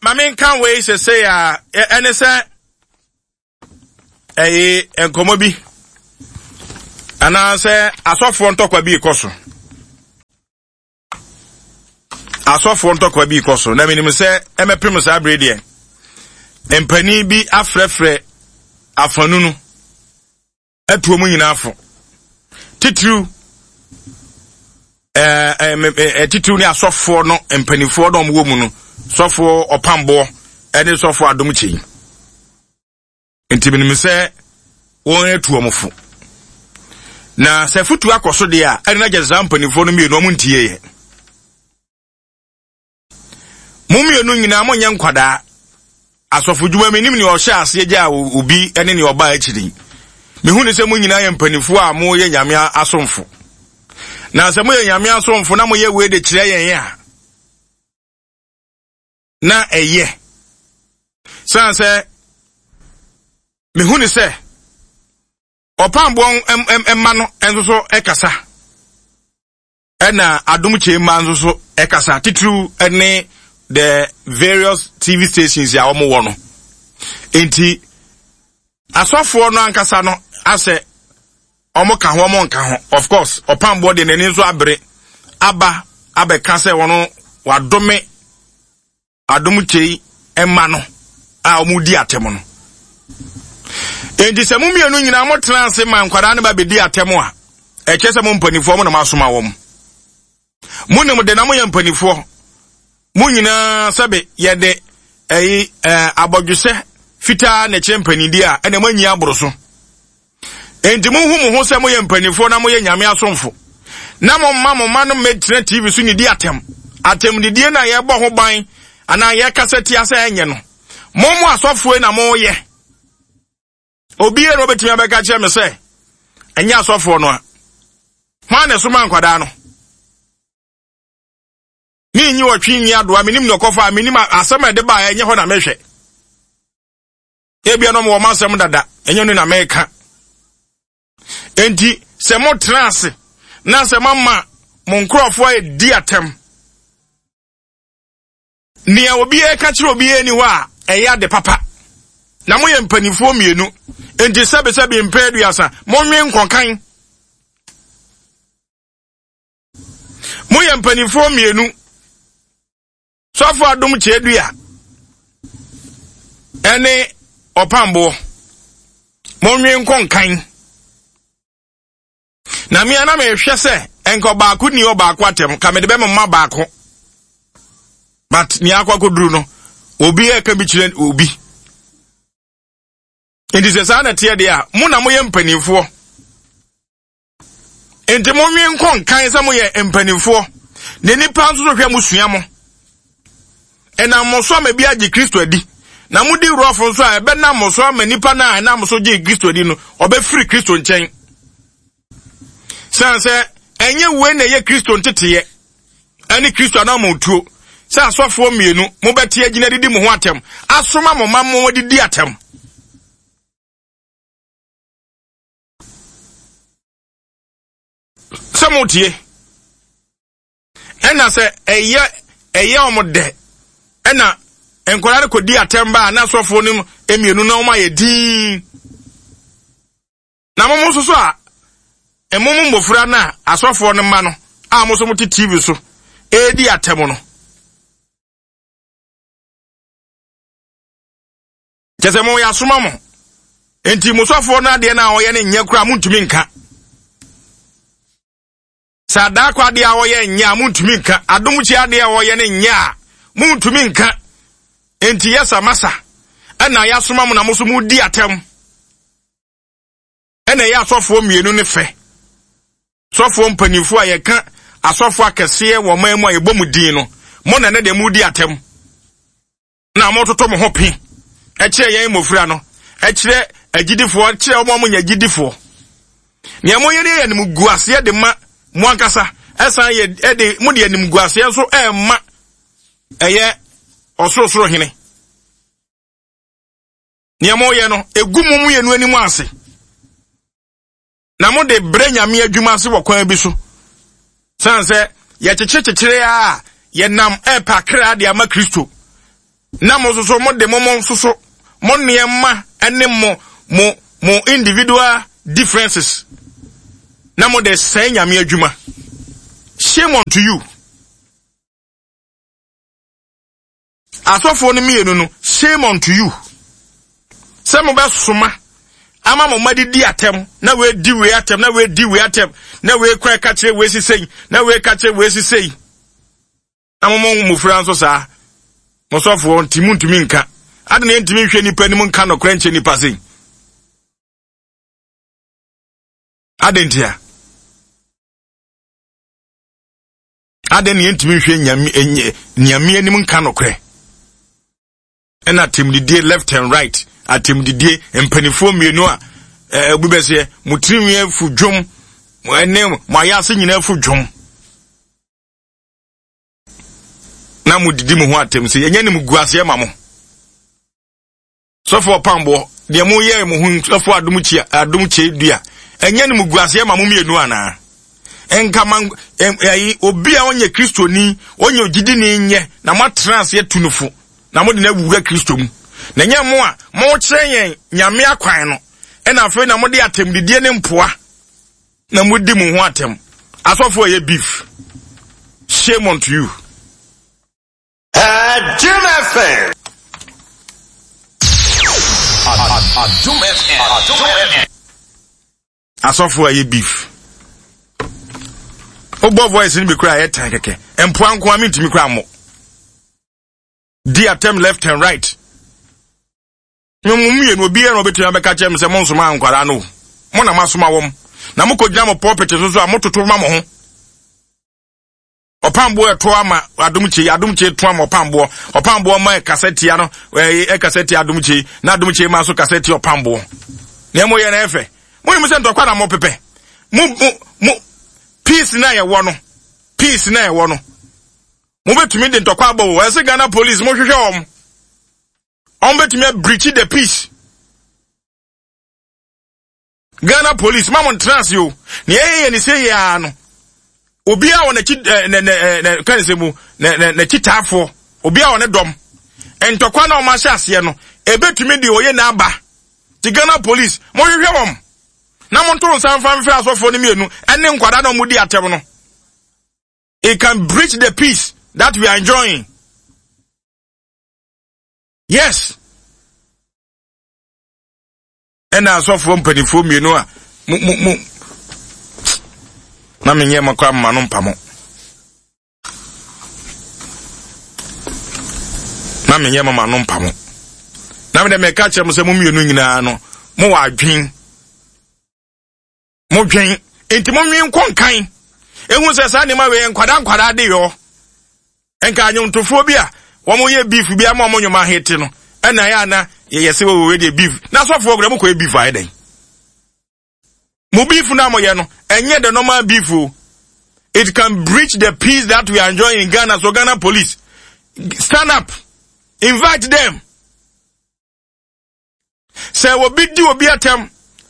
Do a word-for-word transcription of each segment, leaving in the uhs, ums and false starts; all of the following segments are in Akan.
ma menka wei sesei a, ɛne sɛ ɛyɛ nkɔmmɔ bi anaasɛ asɔfoɔ ntɔkwa bi rekɔ so. Asɔfoɔ ntɔkwa bi rekɔ so, na menim sɛ ɛmɛpem saa bere deɛ, mpanin bi afrɛfrɛ afanu no atuo mu nyinaa fo. Titiriw, ɛɛ ɛɛ titiriw ne asɔfoɔ no mpanimfoɔ na wɔwɔ mu no, sɔfoɔ ɔpamboɔ ɛne sɔfoɔ adom kyei. Nti menim sɛ wɔn atu wɔn fo. Na sɛ futu akɔ so deɛ a, ɛne na gye saa mpanimfoɔ no mmienu wɔn ntie yɛ. Mo mmienu nyinaa monyɛ nkwadaa. Asɔfodwuma menim nea ɔhyɛ aseɛ gyaa obi ne nea ɔbaa akyiri. Mehu ne sɛ mo nyinaa yɛ mpanimfoɔ a moyɛ Nyame asomfo. Na sɛ moyɛ Nyame asomfo na moyɛ wei de kyerɛ yɛn a, na ɛyɛ. Sane sɛ mehu ne sɛ ɔpamboɔ mma no nso so ɛkasa. Ɛna adom kyɛ mma nso so ɛkasa, titiriw ne the various T V stations a wɔn wɔ no. Nti asɔfoɔ no ankasa no asɛ wɔn ka ho, wɔn nka ho. Of course, ɔpamboɔ deɛ n'ani nso abere aba abɛka sɛ wɔn wadome adom kyɛ mma no a wɔn di atɛm no. Nti sɛ mo mmienu nyinaa mo tena ase ma nkwadaa no ba bɛdi atɛm a, ɛkyerɛ sɛ mo mpanimfoɔ mo na mo asoma wɔn. Mo nim de na mo yɛ mpanimfoɔ. Mo nyinaa sɛbe yɛde ɛyi ɛɛ abɔdwesɛ fitaa na ɛkyerɛ mpanimdie a ɛna mo anyi aboro so. Nti mo hu mo ho sɛ mo yɛ mpanimfoɔ na mo yɛ Nyame asomfo. Na mo mma mo mma no mmɛtena T V so ne di atɛm. Atɛmdidie na yɛbɔ ho ban anaa yɛkasa tia sɛ ɛnyɛ no. Mo mo asɔfoɔ na mo yɛ. Obiara na obetumi abɛka kyerɛ me sɛ ɛnyɛ asɔfoɔ no a. Hwan na ɛsoma nkwadaa no? Me nyi ɔtwe nyi adoa, menim ne ɔkɔfa, menim asɛm a ɛde baa ɛnyɛ hɔ na mehwɛ. Ebia no wɔ m'asɛm dada, ɛnyɛ no na meka. Enti sɛ motena ase na sɛ mama mo nkurɔfoɔ adi atɛm, nea obi ka kyerɛ obi ani hɔ a ɛyɛ ade papa. Na moyɛ mpanimfoɔ mmienu, enti sɛbesɛbe mpɛ aduasa, monwe nkɔkan. Moyɛ mpanimfoɔ mmienu, sɔfo adom kyerɛdua ɛne ɔpamboɔ, monwe nkɔnkan. Na mmea na mehwɛ sɛ nka ɔbaako ni ɔbaako atɛm, ka mede bɛma mma baako. But nea akɔ akɔduru no, obi ɛka bi kyerɛ obi. Nti sɛ saa na ɛteɛ deɛ a, mo na moyɛ mpanimfoɔ. Nti monwe nkɔnkan sɛ moyɛ mpanimfoɔ. Na nnipa nso so hwɛ mo sua mo. Ɛnam mo so ama bi agye Kristo adi. Na modi wurɔfo nso a ɛbɛnam mo so ama nnipa no a ɛnam so gye Kristo adi no, ɔbɛfiri Kristo nkyɛn. Sane sɛ ɛnyɛ wei na ɛyɛ Kristo nteteeɛ ɛne Kristo anammɔntuo sɛ asɔfoɔ mmienu mobɛte agyina didi mo ho atɛm, asoma mo mma mo didi atɛm. Sɛ motie, ɛna sɛ ɛyɛ ɛyɛ ɔmo dɛ, ɛna nkwadaa no kɔdi atɛm ba a na asɔfoɔ no mmienu na ɔmo ayɛ dinn. Na mo nso so a ɛmo mo mmɔfra no a asɔfoɔ no mma no a mo nso mo te T V so ɛredi atɛm no, kyerɛ sɛ mo yɛ asoma mo. Enti mo sɔfoɔ no adeɛ no a ɔyɛ no nyɛ koraa montumi nka. Sɛ adaakɔ adeɛ a ɔyɛ nyɛ a montumi nka. Adomkye adeɛ a ɔyɛ no nyɛ a montumi nka. Enti yɛ sa masa ɛna yɛasoma mo na mo nso modi atɛm. Ɛna ɛyɛ asɔfoɔ mmienu ne fɛ. Sɔfoɔ mpanimfoɔ a yɛka asɔfoɔ akɛseɛ wɔ ɔman mu a yɛbɔ mu din no, mo na ne deɛ modi atɛm. Na mototo mo ho pe. Ɛkyerɛ yɛn mmɔfra no, ɛkyerɛ agyidifoɔ, ɛkyerɛ wɔn a wɔnyɛ agyidifoɔ. Nea moyɛ no yɛ animguaseɛ de ma mo ankasa, ɛsan yɛ ɛde mo de animguaseɛ nso ɛma ɛyɛ ɔsorosoro hene. Nea moyɛ no, egu mo mmienu anim ase. Na mo de brɛ Nyame adwuma ase wɔ kwan bi so. San sɛ yɛkyekyere kyekyere a yɛnam ɛpɛ akra de ama Kristo. Na mo nso so mo de mo mo nso so mo nneɛma ne mo mo mo individual differences na mo de sɛe Nyame adwuma. Shame unto you. Asɔfoɔ no mmienu no, shame unto you. Sɛ mobɛsoma ama mo mma didi atɛm, na wei wei atɛm, na wei di wei atɛm, na wei kora ka kyerɛ wei sisei, na wei ka kyerɛ wei sisei. Na mo mo mmofra nso saa. Mo sɔfoɔ nti muntumi nka. Ade na yɛntumi nhwɛ nipa anim nka nɔkorɛ nkyɛ nipa sei. Ade ntia. Ade na yɛntumi nhwɛ nyame nyame anim nka nɔkorɛ. Ɛna atemdidie left and right, atemdidie mpanimfoɔ mmienu a ɛɛ obi bɛseɛ mo tirinwi afu dwom, ɛne mo ayase nyinaa afu dwom. Na mo didi mo ho atem sɛ yɛnyɛ ne mo gu aseɛ ma mo. Sɔfo ɔpamboɔ deɛ mo yɛ mo ho sɔfo adom kyia adom kyɛ dua ɛnyɛ ne mo gu aseɛ ma mo mmienu anaa? Nka ma ɛyi obi a ɔnyɛ kristoni ɔnyɛ ogyidini nyɛ na mo atena aseɛ tu no fo na mo de no awura Kristo mu. Na ɛnyɛ mo a mo kyerɛ yɛn Nyame akwan no ɛna afei na mo de atɛmdidie ne mpoa na mo di mo ho atɛm. Asɔfo ɛyɛ beef. Shame unto you. Adom F M. Adom F M. Adom F M. Asɔfo ɛyɛ beef. Obo voice ni bi kura ɛyɛ tan kɛkɛ. Mpoa nko ami ntumi kura mo. Di atɛm left and right. Mo mmienu obiara na obetumi abɛka kyerɛ me sɛ mo nsoma nkwara no. Mo na masoma wɔm. Na mo kɔgyina mo pulpit so so a mototo ma mo ho. Ɔpamboɔ ɛto ama adom kye, adom kye to ama ɔpamboɔ. Ɔpamboɔ ma ɛkasa tia no, ɛyɛ ɛkasa tia adom kye, na adom kye ma so kasa tia ɔpamboɔ. Na mo yɛ na ɛfɛ. Mo nim sɛ ntɔkwa na mo pepɛ. Mo mo mo peace na yɛwɔ no. Peace na yɛwɔ no. Mo betumi de ntɔkwa abɔ wo. Ɛsɛ Ghana police mo hwehwɛ wɔn. Wɔn betumi breach the peace. Ghana police ma mo ntena ase o. Na yɛyɛ yɛ ne sɛ yɛ no. Obi a wɔ n'akyi ne ne ne kan sɛ mu ne ne n'akyi taafoɔ. Obi a wɔ ne dɔm. Ntɔkwa na wɔn ahyɛ aseɛ no. Ebetumi de oyɛ n'aba. Ti Ghana police mo hwehwɛ wɔn. Na mo nto nsa mfa mfrɛ asɔfoɔ no mmienu ɛne nkwadaa na wɔn di atɛm no. It can breach the peace that we are enjoying. Yes. Ɛna asɔfoɔ mpanimfoɔ mmienu a mo mo mo na menyɛ mo kora mma no mpa mo. Na menyɛ mo ma no mpa mo. Na me de meka kyerɛ mo sɛ mo mmienu nyinaa no mo wɔ adwen. Mo dwen enti mo nwen nkɔ nkan. Ehu sɛ saa nneɛma wei nkwada nkwada de yɔ. Nka anwomtofoɔ bi a wɔn yɛ beef bi ama wɔn nnwom ahete no ɛna yɛ ana yɛyɛ sɛ wɔwɔ deɛ beef. Na asɔfoɔ kura mo kɔ yɛ beef ayɛ dɛn? Mo beef na mo yɛ no ɛnyɛ the normal beef o. It can breach the peace that we are enjoying in Ghana. So Ghana police, stand up, invite them. Sɛ obi di obi atɛm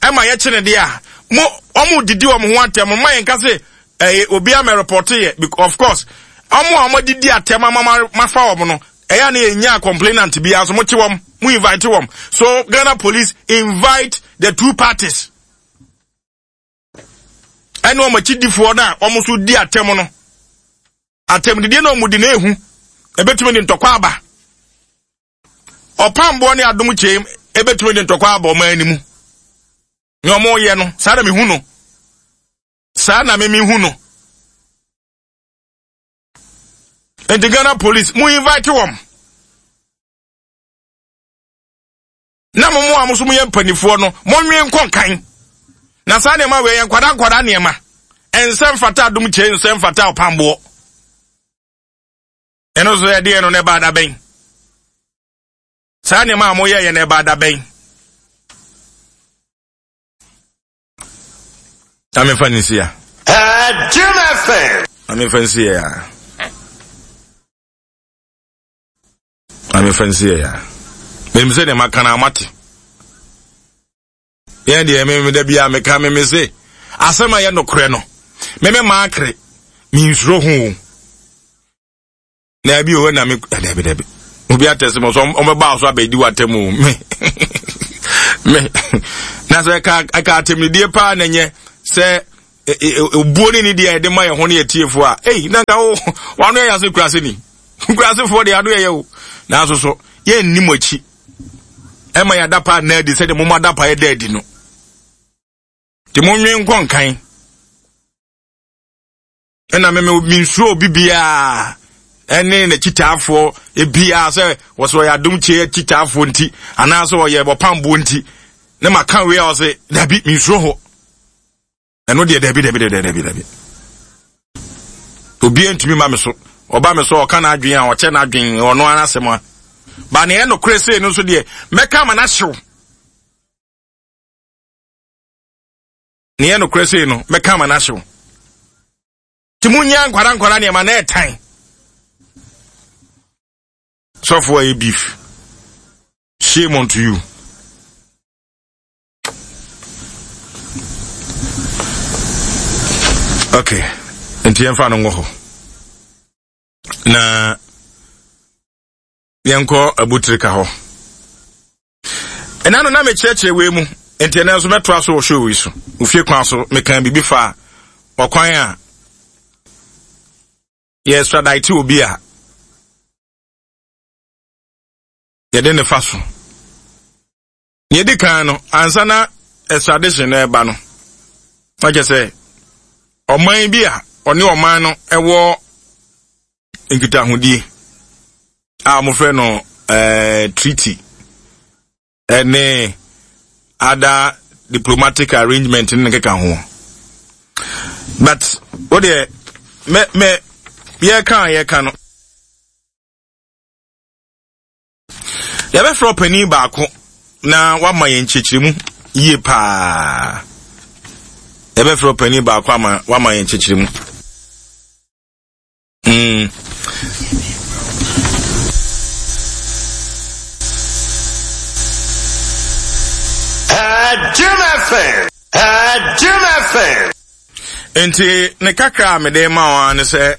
ɛma yɛkye ne deɛ a mo ɔmo didi ɔmo ho atɛm mo ma yɛn ka se ɛyɛ obi ama report yɛ, of course ɔmo a ɔmo didi atɛm ama mafa ɔmo no ɛyɛ na yɛnya complainant bi aso mo kye wɔm mo invite wɔm. So Ghana police invite the two parties. Ɛne ɔmo akyidifoɔ no a ɔmo so di atɛm no atɛm didie na ɔmo di na ehu ebetumi de ntɔkwa aba. Ɔpamboɔ ne adom kyɛm ebetumi de ntɔkwa aba ɔmo anim. Ne ɔmo yɛ no saa na mehu no. Saa na me mehu no. Enti Ghana police mo invite wɔm. Na mo mo a mo so mo yɛ mpanifoɔ no mo nwe nkɔ nkan. Na saa nneɛma wei yɛ nkwada nkwada nneɛma. Ɛnsɛ mfata adom kyɛ nsɛ mfata ɔpamboɔ. Ɛno so yɛ deɛ no na ɛba ada bɛn. Saa nneɛma a mo yɛ yɛ na ɛba ada bɛn. Na mefa ne nsia. Adom F M. Na mefa nsia ya. Na mefa nsia ya. Menim sɛ nneɛma ka na amate. Yɛn deɛ me me da bi a meka me me se asɛm a yɛ nokorɛ no. Me me maakere me nsuro ho. Na bi o na me dabi dabi. Obi atɛse mo so ɔmɛba so abɛdi w'atɛm o. Me me na sɛ ɛka ɛka atɛmnidie paa na nyɛ sɛ obuo ne ne deɛ yɛde ma yɛn ho ne yɛ tiefoɔ a, ei, na nka wo wano yɛ yase kurase ni kurasefoɔ deɛ ano yɛ yɛ o. Nanso so yɛnni mo akyi ɛma yɛ adapa na adi sɛdeɛ mo mo adapa yɛ da adi no. Nti mo nwe nkɔ nkan. Ɛna me me nsuro obi biara ɛne n'akyitaafoɔ ebiara sɛ wɔsɛ ɔyɛ adom kyie akyitaafoɔ nti anaasɛ ɔyɛ ɔpamboɔ nti ne ma ka wei a ɔsɛ dabi, me nsuro hɔ. Ɛno deɛ, dabi, dabi, dabi, dabi, dabi, obiara ntumi ma me so. Ɔba me so, ɔka n'adwene a ɔkyɛ n'adwene, ɔno ara asɛm a ba nea ɛnokorɛ sei no nso deɛ, mɛka ama n'ahyew. Nea ɛnokorɛ sei no, mɛka ama n'ahyew. Nti munya nkwara nkwara nneɛma na ɛtan sɔfo a yɛ beef. Shame unto you. Okay, nti yɛmfa no ngɔ hɔ na yɛnkɔ abutirika hɔ. Ɛna no na mekyerɛkyerɛ wei mu, nti ɛnɛ nso mɛtoa so wɔ show yi so. Ofie kwan so, meka biribi fa ɔkwan a yɛ extradite obi a yɛde ne fa so. Nea ɛdi kan no, ansa na extradition no ɛba no, na kyerɛ sɛ ɔman bi a ɔne ɔman no ɛwɔ nkitahodie a wɔfrɛ no ɛɛ treaty ɛne other diplomatic arrangement ne keka ho. But o deɛ, mɛ mɛ yɛka a yɛka no, yɛbɛfrɛ ɔpanin baako na wama yɛn nkyerɛkyerɛmu yie paa. Yɛbɛfrɛ ɔpanin baako ama wama yɛn nkyerɛkyerɛmu. Mm. Jim F M. Jim F M. Nti ne kakra a mede ma wɔn ne sɛ